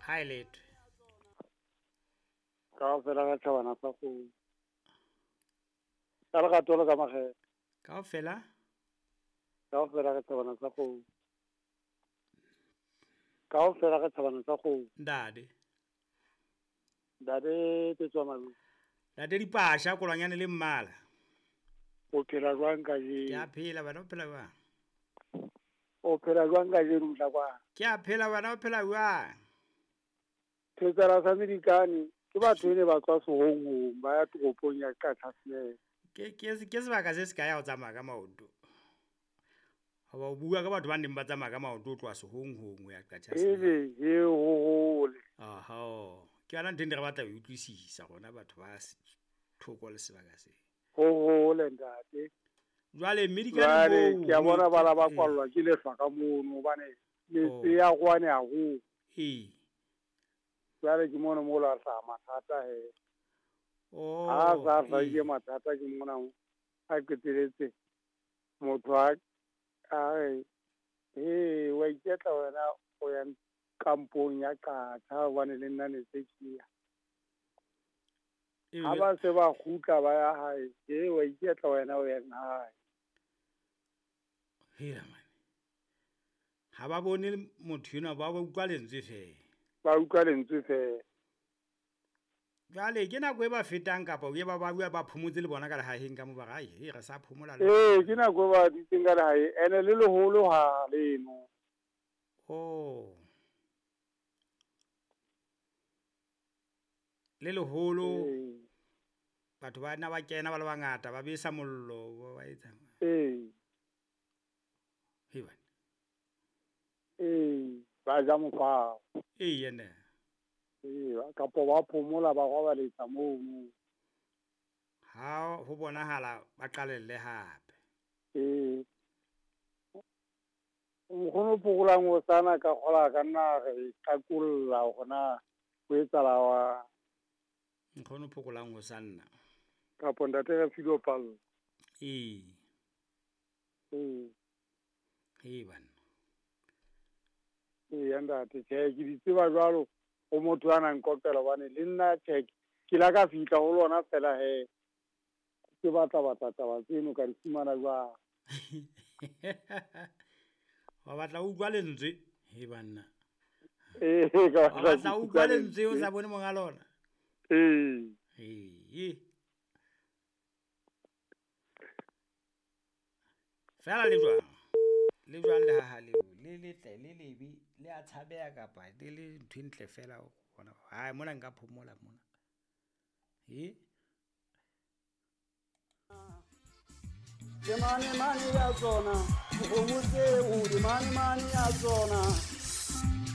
Ha e letho. Kaofela ka tjhabana sa kgomo. Ka lerato le ka makgethe. Kaofela? Kaofela ka tjhabana sa kgomo. Kaofela ka tjhabana sa kgomo. Ntate. Ntate Tetswa Malu. Ntate Dipasha kolwanyane le mmala. O phela jwang kajeno? Ke a phela bana o phela jwang? O phela jwang kajeno motla kwa? Ke a phela bana o phela jwang? Thetsela sa Medikane ke batho ene ba tswa sehonghong ba ya toropong ya Qachaseneke. Ke sebaka se se kae ha o tsamaya ka maoto? Hoba o bua ka batho ba neng ba tsamaya ka maoto ho tloha sehonghong ho ya Qachaseneke. Ebe he ho hole. Oho, ke yona ntho e ne re batla ho e utlwisisa rona batho ba thoko le sebaka se. Ho hole ntate. Jwale Medikane Jwale moo ke a bona ho bala ba ee. kwallwa ke lehlwa ka mono hobane metse Oh. ya rwane haholo. Ee. Jwale ke mono mo la hlaha mathata he. Ha Oh, sa hlahile ee. mathata ke mona a qeteletse motho a re he wa iketla wena o ya kampong ya Qacha hobane le nna ne se ke ya. Ha Ebile ba se ba kgutla ba ya hae, he wa iketla wena o yang hae. Hela mane. Ha ba bone motho enwa ba utlwa lentswe feela. Ba utlwa lentswe feela. Jwale ke nako e ba fetang kapa e ba ba bua ba phomotse le bona ka lehaheng ka mo ba re ai he re sa phomola le. Ee, ke nako e ba dutseng ka lehae ene le leholo ha leno. Oh. Le leholo. Ee. Batho ba nna ba kena ba le bangata ba besa mollo ba etsa. Ee. He bana. Ee, ba ja mofao. Ee yena. Ee, kapo ba phomola ba robaletsa mono. Ha ho bonahala ba qalelle hape. Ee. Nkgono Phokolang o sana ka kgola ka nna re qakolla hore na ho etsahala wa. Nkgono Phokolang o sanna. Kapo ntate re Filo Pallo. Ee. Ee. He bana. Ee ntate, tjhe ke di tseba jwalo ho motho a nang qoqela hobane le nna tjhe ke la ka fihla ho lona fela he. Ke batla batla taba tseno ka di fumana jwang. Wa batla o utlwa lentswe he banna. Ee, ka Wa batla o utlwa lentswe o sa bone monga lona. Ee. Ee. Fela le jwang? Le jwang le haha leo le letle le lebe le a tshabeha kapa le le ntho e ntle fela o bona. Hai mona nka phomola mona. He? Le mane mane ya tsona, dikgomo tseo di mane mane ya tsona.